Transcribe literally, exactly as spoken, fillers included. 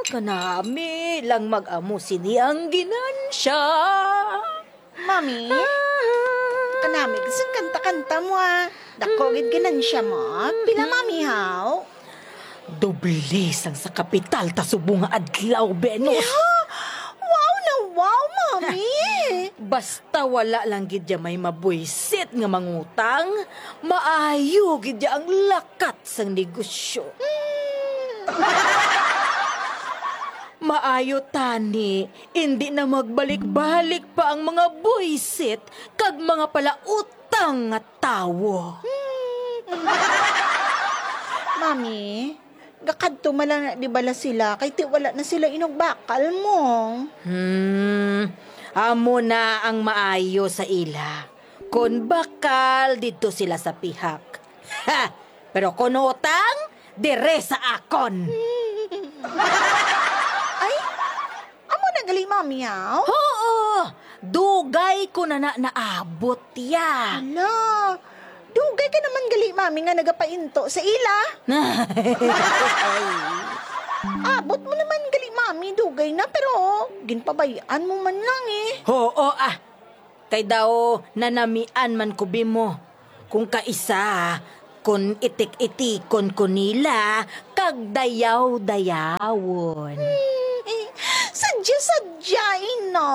Kanami lang mag-amo sini ang ginansya. Mami, kanami, isang kanta-kanta mo, ah. Dako gid ginansya mo. Pila, Mami, haw? Doble sang sa kapital ta subong nga adlaw, Venus. Yeah? Wow na wow, Mami! Basta wala lang gid ya may mabuisit nga mangutang, maayo gid ya ang lakat sang negosyo. Maayo tani, indi na magbalik-balik pa ang mga buisit kag mga palautang nga tawo. Mami, gakadto man lang na di bala sila, kay ti wala na sila inugbakal mo. Hmm, amo na ang maayo sa ila. Kon bakal, didto sila sa pihak. Ha! Pero kon utang, dire sa akon. Ay, amo na gali, Mami, haw? Oo! Dugay ko na na naabot ya. Hala, dugay ka naman gali, Mami, nga nagapainto sa ila. Abot mo naman gali, Mami, dugay na, pero ginpabay-an mo man lang, eh. Oo, ah. Kay daw nanamian man ko, Bimo. Kung kaisa, kung itik-itikon ko nila, kag dayaw-dayawon. Sadya-sadya, ina.